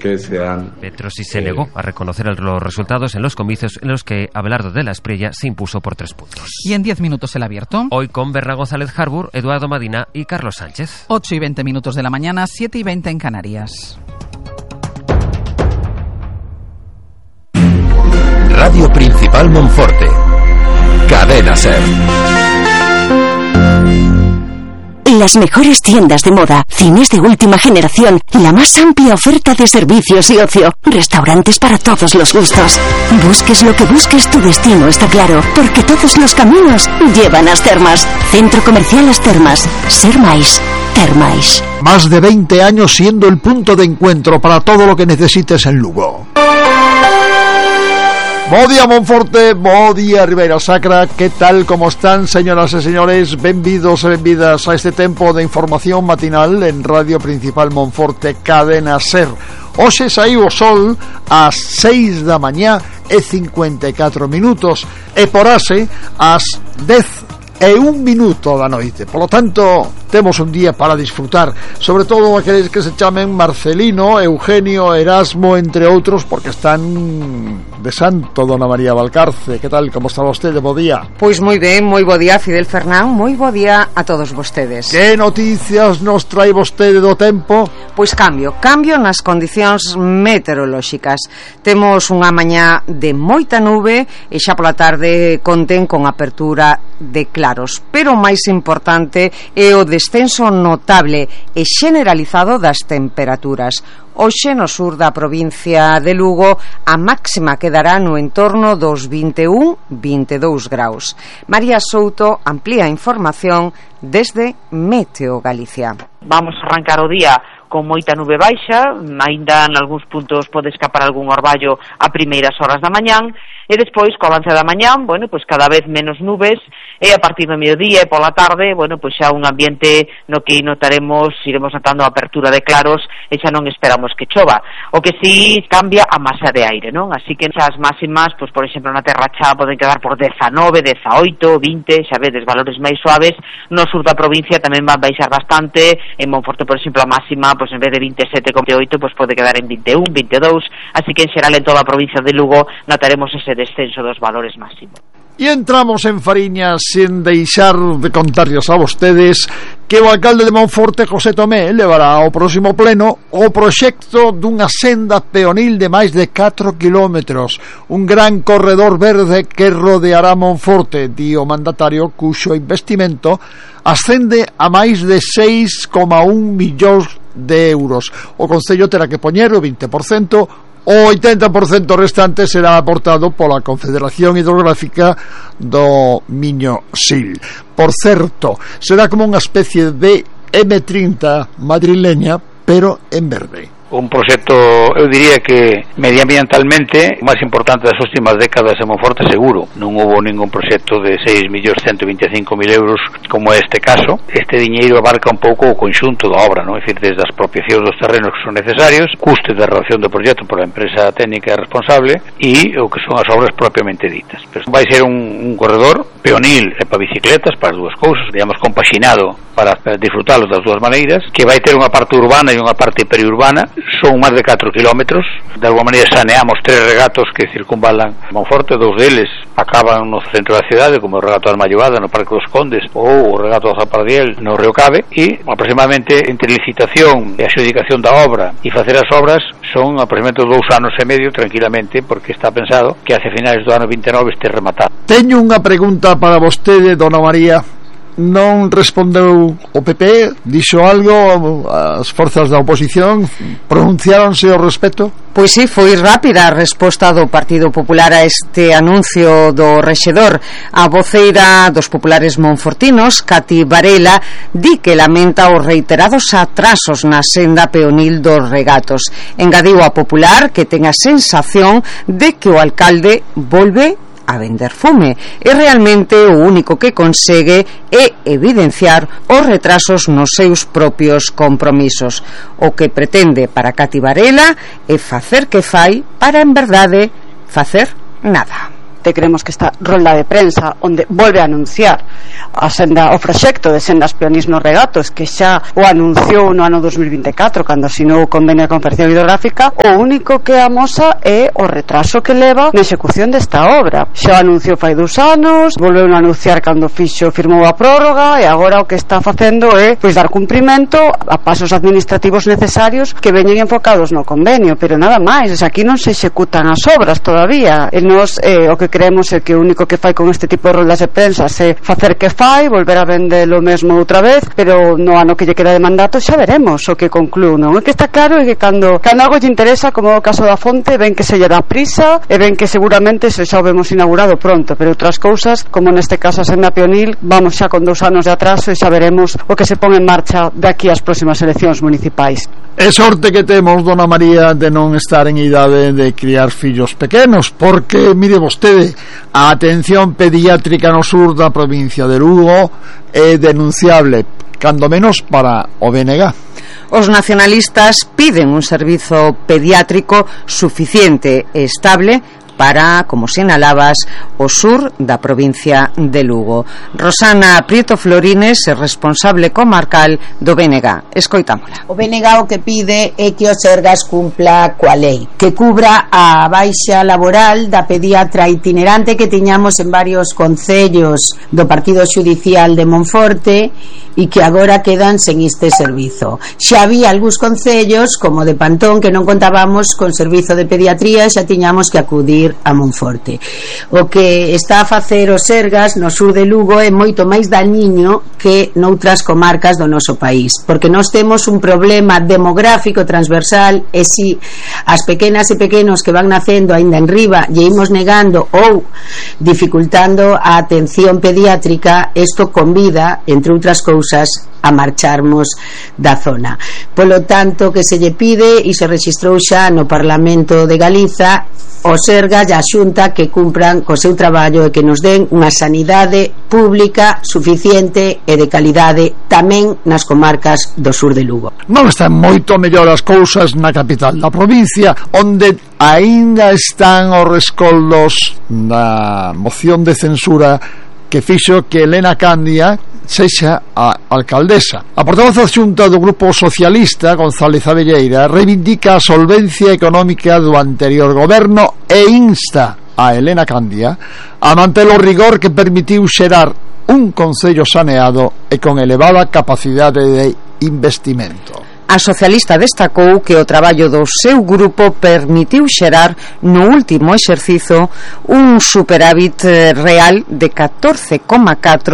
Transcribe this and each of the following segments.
que sean... Petrosi se negó a reconocer los resultados en los comicios en los que Abelardo de la Espriella se impuso por 3 puntos. Y en 10 minutos el abierto. Hoy con Berna González Harbour, Eduardo Madina y Carlos Sánchez. 8 y 20 minutos de la mañana, 7 y 20 en Canarias. Radio Principal Monforte. Cadena SER. Las mejores tiendas de moda, cines de última generación, la más amplia oferta de servicios y ocio, restaurantes para todos los gustos. Busques lo que busques, tu destino está claro, porque todos los caminos llevan a As Termas. Centro Comercial As Termas. Ser máis. Termais. Más de 20 años siendo el punto de encuentro para todo lo que necesites en Lugo. Bo día Monforte, bo día Ribeira Sacra. Que tal, como están, señoras e señores? Benvidos e benvidas a este tempo de información matinal en Radio Principal Monforte, Cadena SER. Hoxe saiu o sol ás 6 da mañá e 54 minutos e porase ás 10:01 da noite. Por lo tanto, temos un día para disfrutar, sobre todo aqueles que se chamen Marcelino, Eugenio, Erasmo, entre outros, porque están de santo, dona María Valcarce. Que tal, como está vostede? Bo día. Pois moi ben, moi bo día, Fidel Fernán, moi bo día a todos vostedes. Que noticias nos trae vostede do tempo? Pois cambio nas condicións meteorolóxicas. Temos unha mañá de moita nube e xa pola tarde contén con apertura de claros, pero o máis importante é o descenso notable e generalizado das temperaturas. Hoxe no sur da provincia de Lugo a máxima quedará no entorno dos 21-22 graus. María Souto amplía a información desde Meteo Galicia. Vamos a arrancar o día con moita nube baixa, aínda en algúns puntos pode escapar algún orballo a primeiras horas da mañán, e despois, co avance da mañán, bueno, pois cada vez menos nubes, e a partir do mediodía e pola tarde, bueno, pois xa un ambiente no que iremos notando a apertura de claros e xa non esperamos que chova. O que sí cambia a masa de aire, non? Así que as máximas, pois por exemplo na Terra Chá poden quedar por 19, 18, 20, xa vedes, valores máis suaves. No sur da provincia tamén van baixar bastante. En Monforte, por exemplo, a máxima, pois en vez de 27,8, pois pode quedar en 21, 22, así que en xeral en toda a provincia de Lugo notaremos ese descenso dos valores máximos. E entramos en fariña sen deixar de contarlles a vostedes que o alcalde de Monforte, José Tomé, levará ao próximo pleno o proxecto dunha senda peonil de máis de 4 kilómetros, un gran corredor verde que rodeará Monforte, di o mandatario, cuxo investimento ascende a máis de 6,1 millóns de euros. O Concello terá que poñer o 20%, o 80% restante será aportado pola Confederación Hidrográfica do Miño Sil. Por certo, será como unha especie de M30 madrileña, pero en verde. Un proxecto, eu diría que medioambientalmente o máis importante das últimas décadas en Monforte, seguro. Non houve ningún proxecto de 6.125.000 euros como este caso. Este diñeiro abarca un pouco o conxunto da obra, non? É dicir, desde as apropiacións dos terrenos que son necesarios, custe de redacción do proxecto por a empresa técnica responsable e o que son as obras propiamente ditas. Pero vai ser un corredor peonil e para bicicletas, para as dúas cousas, digamos, compaxinado para disfrutalo das dúas maneiras, que vai ter unha parte urbana e unha parte periurbana. Son máis de 4 kilómetros. De alguma maneira saneamos 3 regatos que circunvalan Monforte. 2 deles acaban no centro da cidade, como o regato da Mallovada no Parque dos Condes ou o regato da Zapardiel no Río Cabe, e aproximadamente entre licitación e adxudicación da obra e facer as obras son aproximadamente 2 anos e medio tranquilamente, porque está pensado que hacia finais do ano 29 este rematado. Teño unha pregunta para vostede, dona María. Non respondeu o PP? Dixo algo? As forzas da oposición pronunciáronse ao respecto? Pois sí, foi rápida a resposta do Partido Popular a este anuncio do rexedor. A voceira dos populares monfortinos, Cati Varela, di que lamenta os reiterados atrasos na senda peonil dos regatos. Engadiu a popular que ten a sensación de que o alcalde volve a vender fume e realmente o único que consegue é evidenciar os retrasos nos seus propios compromisos. O que pretende para Cati Varela é facer que fai para en verdade facer nada. queremos que esta rolda de prensa onde volve a anunciar o proxecto de sendas peonís nos regatos, que xa o anunciou no ano 2024 cando asinou o convenio de Confederación Hidrográfica, o único que amosa é o retraso que leva na execución desta obra. Xa o anunciou fai 2 anos, volveu a anunciar cando firmou a prórroga, e agora o que está facendo é dar cumprimento a pasos administrativos necesarios que veñen enfocados no convenio, pero nada máis. Aquí non se executan as obras todavía, e nos o que creemos é que o único que fai con este tipo de roldas de prensa é facer que fai, volver a vender o mesmo outra vez, pero no ano que lle queda de mandato xa veremos o que conclúe, non? O que está claro é que cando algo lle interesa, como o caso da fonte, ven que se lle dá prisa e ven que seguramente se xa o vemos inaugurado pronto, pero outras cousas, como neste caso a senda peonil, vamos xa con 2 anos de atraso e xa veremos o que se pon en marcha de aquí ás próximas eleccións municipais. É sorte que temos, dona María, de non estar en idade de criar fillos pequenos, porque, mire vostede, a atención pediátrica no sur da provincia de Lugo é denunciable, cando menos para o BNG. Os nacionalistas piden un servizo pediátrico suficiente e estable para, como sinalabas, o sur da provincia de Lugo. Rosana Prieto Florines é responsable comarcal do BNG. Escoitámola. O BNG o que pide é que o Sergas cumpla coa lei, que cubra a baixa laboral da pediatra itinerante que tiñamos en varios concellos do Partido Xudicial de Monforte e que agora quedan sen este servizo. Xa había algúns concellos, como de Pantón, que non contábamos con servizo de pediatría, xa tiñamos que acudir a Monforte. O que está a facer o Sergas no sur de Lugo é moito máis dañiño que noutras comarcas do noso país, porque nós temos un problema demográfico transversal, e si as pequenas e pequenos que van nacendo aínda en riba lle imos negando ou dificultando a atención pediátrica, isto convida, entre outras cousas, a marcharmos da zona. Polo tanto, que se lle pide, e se rexistrou xa no Parlamento de Galiza, o Sergas e a Xunta que cumpran co seu traballo e que nos den unha sanidade pública suficiente e de calidade tamén nas comarcas do sur de Lugo. Non están moito mellor as cousas na capital da provincia, onde aínda están os rescoldos da moción de censura que fixo que Elena Candia sexa a alcaldesa. A portavoz adxunta do Grupo Socialista, González Abelleira, reivindica a solvencia económica do anterior goberno e insta a Elena Candia a manter o rigor que permitiu xerar un concello saneado e con elevada capacidade de investimento. A socialista destacou que o traballo do seu grupo permitiu xerar no último exercizo un superávit real de 14,4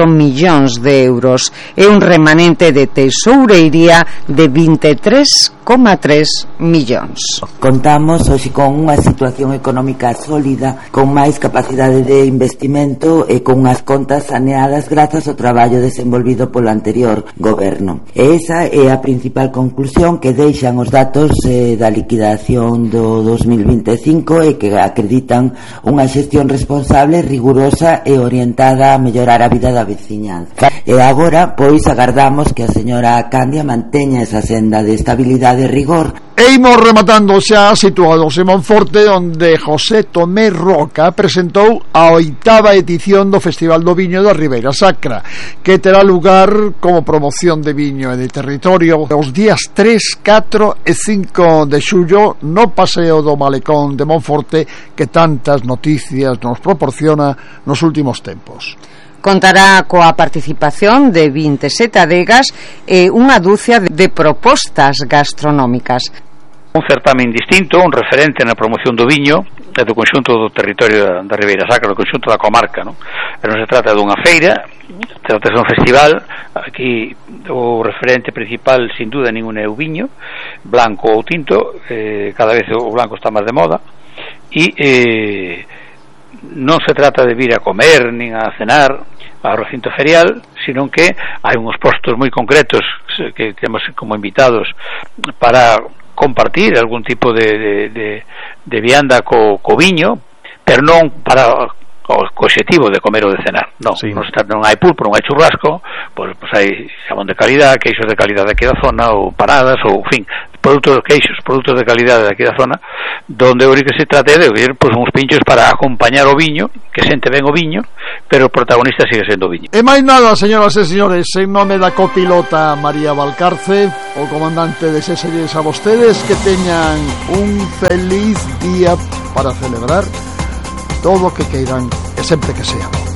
millóns de euros e un remanente de tesoureiría de 23,3 millóns. Contamos hoxe con unha situación económica sólida, con máis capacidade de investimento e con unhas contas saneadas grazas ao traballo desenvolvido polo anterior goberno. E esa é a principal conclusión que deixan os datos da liquidación do 2025 e que acreditan unha xestión responsable, rigurosa e orientada a mellorar a vida da veciñanza. E agora, pois, agardamos que a señora Candia manteña esa senda de estabilidade e rigor. E imos rematando xa situados en Monforte, onde José Tomé Roca presentou a 8ª edición do Festival do Viño da Ribeira Sacra, que terá lugar como promoción de viño e de territorio os días 3, 4 e 5 de xullo no Paseo do Malecón de Monforte, que tantas noticias nos proporciona nos últimos tempos. Contará coa participación de 27 adegas e unha dúcia de propostas gastronómicas. Un certamen distinto, un referente na promoción do viño e do conxunto do territorio da Ribeira Sacra, do conxunto da comarca, non? Pero non se trata dunha feira, trata de un festival. Aquí o referente principal, sin duda ninguna, é o viño, blanco ou tinto, cada vez o blanco está máis de moda, e non se trata de vir a comer nin a cenar ao recinto ferial, sino que hai uns postos moi concretos que temos como invitados para compartir algún tipo de vianda co viño, pero non para o obxectivo de comer ou de cenar. Non, sí. Non hai pulpo, non hai churrasco, pois hai xamón de calidad, queixos de calidad aquí da zona, ou paradas, ou, en fin, produtos de calidade de aquí da zona, donde o que se trate de ver pois uns pinchos para acompañar o viño, que sente ben o viño, pero o protagonista sigue sendo o viño. E máis nada, señoras e señores, en nome da copilota María Valcarce, o comandante, desexalles a vostedes que teñan un feliz día para celebrar todo o que queiran e sempre que sea.